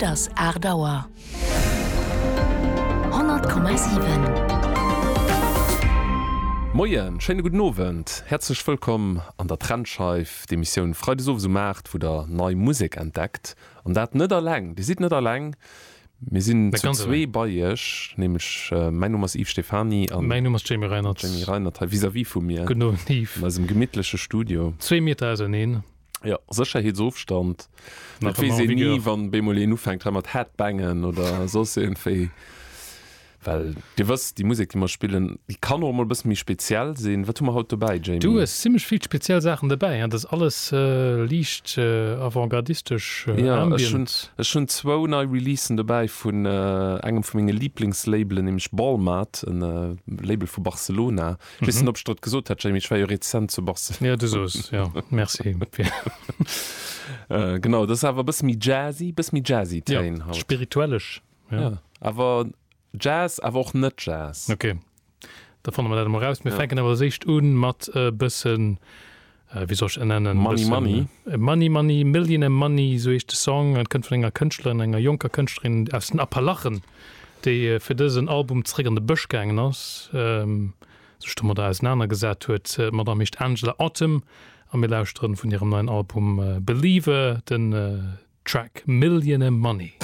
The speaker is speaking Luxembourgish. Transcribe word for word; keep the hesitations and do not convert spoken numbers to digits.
Et ass aacht Auer. Honnert Komma siwen. Moien, schéine gudden Owend, häerzlech wëllkomm an der Trendscheif, d'Emissioun freides owes um aacht, wou der nei Musek entdeckt. An dat net alleng, dir sidd net alleng, mir sinn zu zwee bei iech, nämlech mäin Numm ass Yves Stephany an mäin Numm ass Jamie Reinert. Jamie Reinert hei vis-à-vis vu mir. Gudden Owend Yves. An eisem gemittleche Studio. Zwee Meter auserneen. Jo, Sécherheetsofstand. Et weess een ni, wann bemol een ufänkt hei mat Headbangen oder soss iergendwéi. Well Dir wësst, déi Musek, déi mer spillen, déi kann och emol e bësse méi speziell sinn. Wat hu mer haut dobäi, Jamie? Du hues zimmlech vill speziell Saachen dobäi. Dat ass alles liicht avantgardistesch, ambient. Jo, ech hunn, ech hunn zwou nei Releasen dobäi vun engem vu menge Liblingslabelen, nämlech Balmat, e Label vu Barcelona. Ech weess net, ob ech der et gesot hat, Jamie, ech war jo rezent zu Barcelona. Jo, du sos, jo. Merci. Genau, dat ass awer e bësse méi jazzy, bësse méi jazzy Téin haut. Jo, spirituellesch, jo. Jo, awer Jazz, awer och net Jazz. Ok, da fanne mer dat emol raus. Mir fänken awer als éischt un mat e bëssen, wéi soll ech dat nennen? Money Money. Money Money, Millionaire Money, esou heescht de Song. Et kënnt vun enger Kënschtlerin, enger jonker Kënschtlerin aus den Appalachen, déi fir dësen Album zeréck an de Bësch gaangen ass, sech domadder ausenanergesat huet. D'Madame heescht Angela Autumn a mir lauschteren vun hirem neien Album Believer den Track Millionaire Money.